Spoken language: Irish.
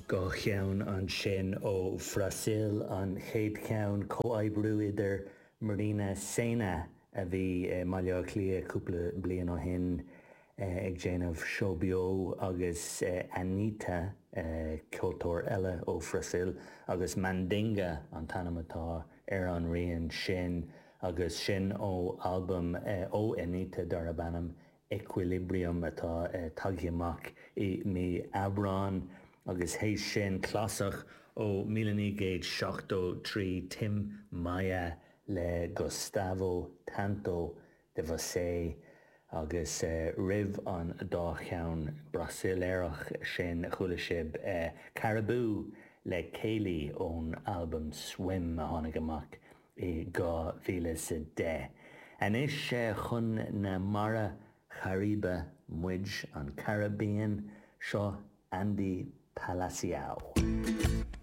Dá cheann ansin ó Bhrasaíl, an chéad cheann, comhoibriú idir Marina Sena, a bhí i mBaile Átha Cliath cúpla bliain ó shin ag déanamh seó beo, agus Anitta, ceoltóir eile ó Bhrasaíl, agus Mandinga an t-ainm atá ar an rian sin, agus sin ó albam ó Anitta darb ainm Equilibrium atá tagtha amach i mí Aibreáin agus théis sin clasach ó 1973 Tim Maia le Gustavo Tanto de Você agus roimh an dá cheann Brasaíleach sin chuala sibh Caribou le Céli ón albam Swim a tháinig amach i 2010. Anois chun na Mara Chairibe muid, an Caribbean, seo Andy Palaciao.